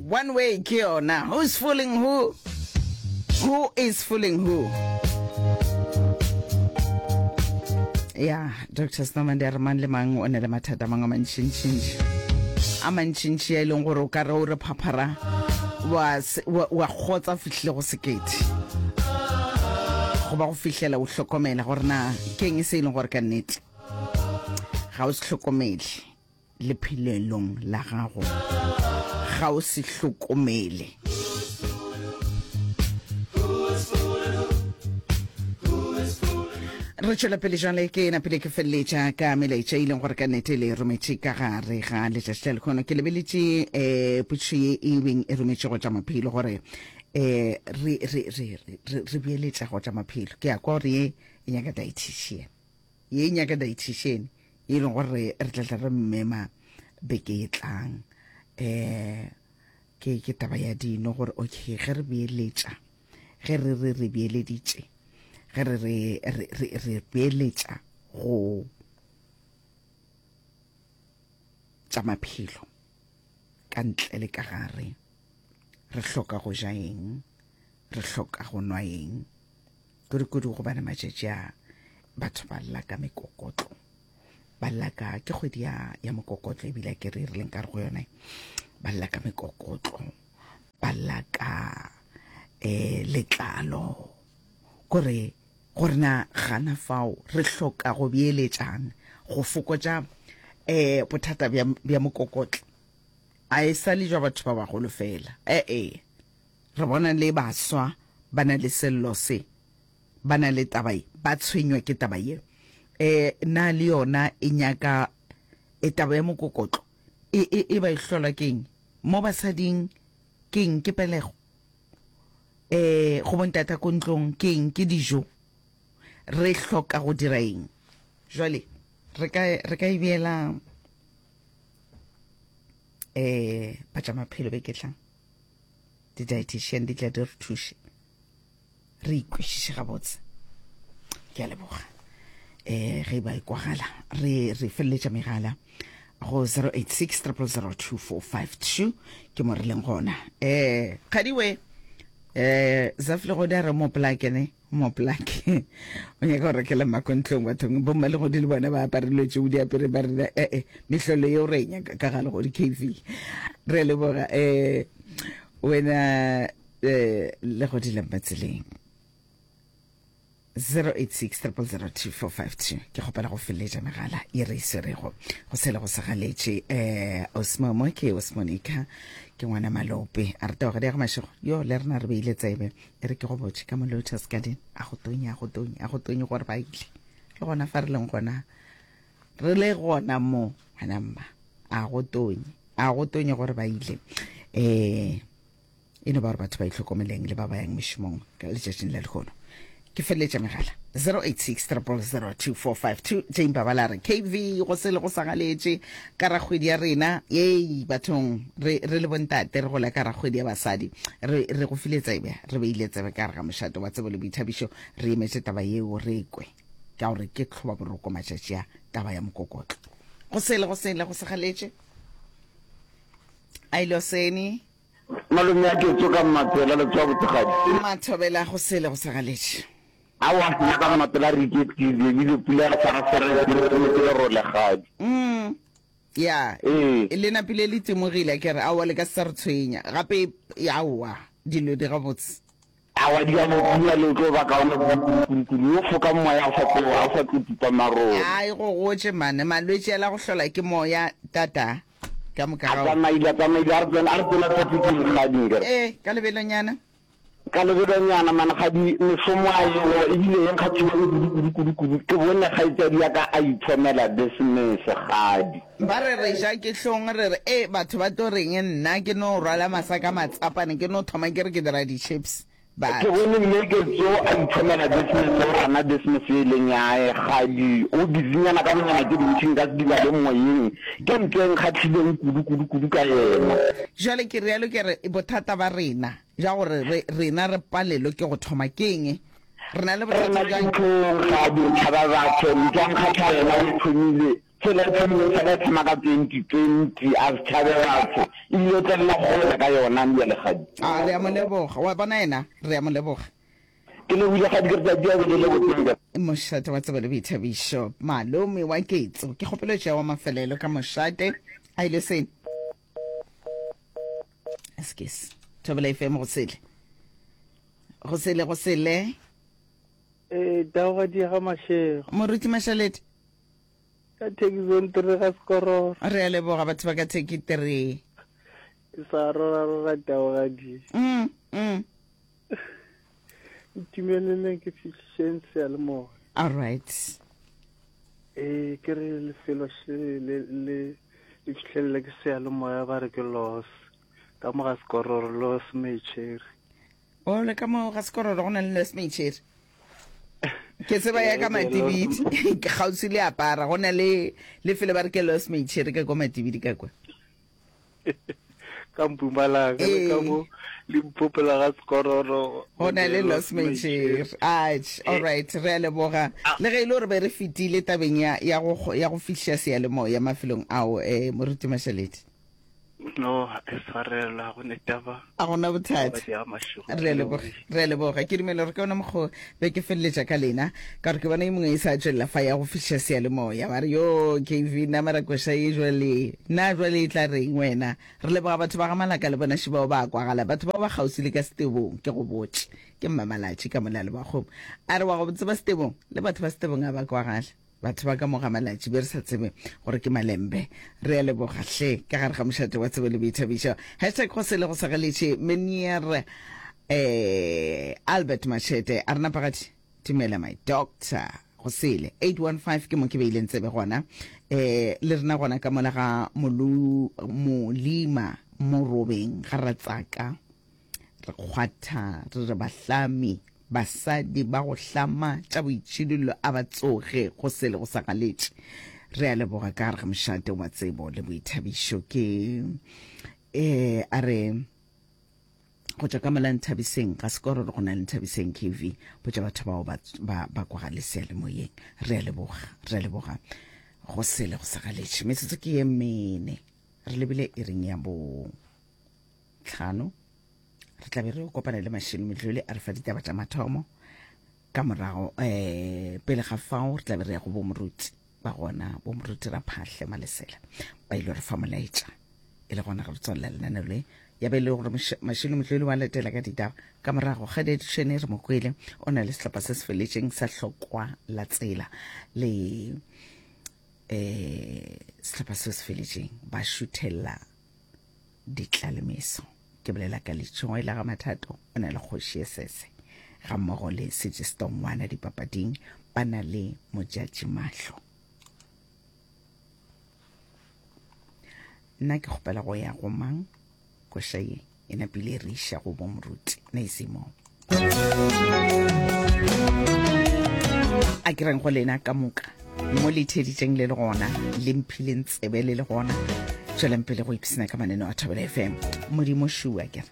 One way ke yona. Who's fooling who? Who is fooling who? Ya, Dr. Snowman di a re mang le mang o na le mathata a mangwe a mantšintšintši. A mantšintši a e leng gore o ka re o re phaphara wa, wa, wa kgotsa fihlile go sekete. Goba go fihlela o hlokomela gore na ke eng se e leng gore ka nnete ga o se hlokomele. lephelelong la gago ga o se hlokomele. Re tšwela pele jale ke napile ke feleletša ka melaetša e leng gore ka nnete le rometše ka gare ga letšatši la lekgono. Ke lebeletše um potšišo ye e beng e rometše go tša maphelo gore um re, re, re, re, re beeletša go tša maphelo. Ke ya kwa gore ye e nyaka dietitian. Ye e nyaka dietitian e leng gore re tla tla re mmema beke e tlang. Um ke ke taba ya dino gore okay ge re beeletša ge re re re beeleditše ge re re re re re beeletša go tša maphelo ka ntle le ka gare re hloka go ja eng re hloka go nwa eng Kudu-kudu gobane matšatši a batho ba lla ka mekokotlo, ba lla ka, ke kgwedi ya, ya mokokotlo ebile ke re re leng ka re go yone, ba lla ka mekokotlo, ba lla ka eh, letlalo, kore gore na gana fao re hloka go beeletšang go fokotša eh, bothata bja, bja mokokotlo. A e sa le jwa batho ba bagolo fela, ee. Re bona le baswa ba na le sello se, ba na le taba ye, ba tshwenywa ke taba ye. E, na le yona e nyaka, e taba ya mokokotlo, e, e, e ba e hlolwa ke eng? Mo basading, ke eng? Ke pelego. E, go bontata ko ntlong, ke eng? Ke dijo. Re hloka go dira eng? Jwale, re ka, re ka e beela, e, ba tša maphelo beke e tlang. Di-dietitian di tla di re thuše re ikwešiše gabotse. Ke a leboga. Um ge e ba e kwagala re re feleletša megala go 086 0002452 ke mo re leng gona. Um kgadiwe um Zaf Legodi a re mo plake ne mo plake o nyaka go rekela mako ntlong bathong bomma legodi le bona ba apare dilo tšeo di apere ba rena ee mehlolo yeo re e nyaka ka ga legodi kv re leboga um wena um legodi la mmatseleng 086 0002452 ke kgopela go feleletša megala ye re e swerego go sele go sa galetše um osmomo ke osmonica ke ngwana malope a re taogadi ya go mašego yo le rena re beile tsebe E re ke go botše ka mo Lotus Garden, a go tonye, a go tonye, a go tonye gore ba ile. Le gona fa re leng gona, re le gona mo, ngwana mma, a go tonye, a go tonye gore ba ile. Eh, e no ba gore batho ba itlhokomeleng le ba ba yang mešomong ka letšatšing la lehono. Ke feleletša megala 086 0002452 Jane Babala re KV go se le go sa galetše ka rakgwedi ya rena yei bathong re re le bontate re gola ka rakgwedi ya basadi re re go file tsebe re beile tsebe ka gare ga mošate wa tsebo le boithabišo re emetše taba yeo re kwe ka gore ke tlhoba boroko matšatši a taba ya mokokotlo go sele go sele go sa galetše a ile osene Malome a ke tsoka Mmatsela le tsoa botse kgadi. Mathobela go sele go sa galetše. Aowa nna ka Mmatsela re iketlile ebile pula ya sarasara e re lerole kgadi. Mm ya Ee. le napile le timogile akere aowa le ka se sa re tshwenya gape aowa dilo di gabotse. Aowa di gabotse pula le tlo ba kaone kudu kudu o foka moya o sa tlo o sa tlo tupa marole. Ai go gotše mane malwetši a la go hlola ke moya tata. Ka moka A ga. tsamaile, a tsamaile, a re tsena, a re tsena trafficking kgadi nkere. Ee, ka lebelonyana. Ka lebelonyana man kgadi, mešomo a ego, ebile e nkgahlile kudu, kudu, kudu, kudu. Ke bone kgaetšadi ya ka a ithomela business kgadi. Ba re re ja ke hlong, re re, E, batho ba tlo reng, nna ke no rwala masaka matsapane, ke no thoma ke re ke dira di-chips. Ke bone mme Ketso a ithomela business, o rana business ye e leng ya hae. Kgadi o busynyana ka bonyana tše dintši nka se di bale moyeng. Ke ntho e nkgahlileng kudu, kudu, kudu ka yena. Jwale ke realo ke re bothata ba rena bja gore re, rena re palelwe ke go thoma ke eng? Re na le Re bothata na le bjang? dihlong, Kgadi, re tšhaba batho. Ntho ya nkgahla yena o e thomile. Tsela e thomileng fela e thoma ka 2020, a se tšhabe batho, ebile o tlelela kgole ka yona bjale kgadi. A re a mo leboga. Wa bona yena, re a mo leboga. Ke lebogile kgadi, ke re tšatši a be le lebotse nka. Mošate wa tsebo le boithabišo, malome wa Ketso. Ke kgopelo tšea wa mafelelo ka mošate. A ile sene. Excuse. Thobela FM go sele. Go sele, go sele. Ee, taogadi ya ga Mashego. Moruti Mashalete. Ka Turkey Zone 3 ga Sekororo. Re a leboga batho ba ka Turkey 3. Ke sa rora rora taogadi. Mm, mm. Ntumeleleng ke fihlišeng seyalemoya. All right. Ee, ke re lefelo še le le le fihlelele ke seyalemoya ba re ke los. Ka mo ga Sekororo los Mecheri. O le ka mo ga Sekororo go na le los Mecheri. Ke tseba ya ka Matibidi, ke kgauswi le apara, go na le lefelo ba re ke Los Mecheri ka kwa Matibidi ka kwa. Ka Mpumalanga le ka mo Limpopo la ga Sekororo. Go na le Los Mecheri. Atjhe, all right, re a leboga. Le ge e le gore be re fetile tabeng ya ya go ya go fihliša seyalemoya mafelong ao, eh Moruti Mashaledi. No, e swarelwa go ne taba. A gona bothata. Re a leboga, re a leboga. Ke dumela gore ke ona mokgo be ke feleletša ka lena, ka gore ke bona e mongwe e sa tšwelela fa ya go fihliša seyalemoya. Ba re, yo, KV, nna mara koša ye jwale, na jwale e tla reng wena? Re leboga batho ba ga Malaka le bona šibao ba a kwagala, batho bao ba kgauswi le ka Setebong, ke go botše. Ke Mmamalatši ka mola le Bakgomo. A re wa go tseba Setebong, le batho ba Setebong a ba kwagala. Batho ba ka mo ga Malatši be re sa tsebe gore ke malembe. Re a leboga hle ka gare ga mošate wa tsebo le boithabišo. Hashtag go sele go sa galetše Meneer eh, Albert Machete a re napagadi dumela my doctor go sele 815 ke mo ke beileng tsebe gona eh le rena gona ka mola ga molu molima morobeng ga ratsaka re kgwatha re re bahlami Basadi ba go hlama tša boitšhidullo a ba tsoge go sele go sa galetše. Re a leboga ka gare ga mošate wa tsebo le boithabišo. Ke eh a re go tšwa ka mola Nthabiseng ga sekororo go na le Nthabiseng KV botša batho bao ba ba ba kwagale seyalemoyeng. Re a leboga, re a leboga go sele go sa galetše. Metsotso ke ye mene re lebile iring ya bo tlhano. Re tla be re kopana le Mashilo Metlole a re fa ditaba tša mathomo. Ka morago um pele ga fao re tla be re ya go bomoruti ba gona, bomoruti Raphahle Malesela ba ile re fa molaetša e le gona ge re tswalela lenaneo le ya be e le gore Mashilo Metlole wa latela ka ditaba. Ka morago ga edišene re mo kwele o na le sehlopha se se feletšeng sa hlokwa la tsela le um sehlopha se se feletšeng ba šuthela ditlalemeso. Ke bolela ka Letšhoe la ga Mathato, o na le kgoši ye sese ga mmogo le Sejestongwana dipapading, ba na le Mojatši Mahlo. Nna ke kgopela go ya go mang? Koša ye e napile e re iša go bo moruti Naisimo. A ke reng go lena ka moka mo le theeditšeng le le gona le mphileng tsebe le le gona, tšwelang pele go ipsina ka maneno a Thobela FM. Modimo šua kere.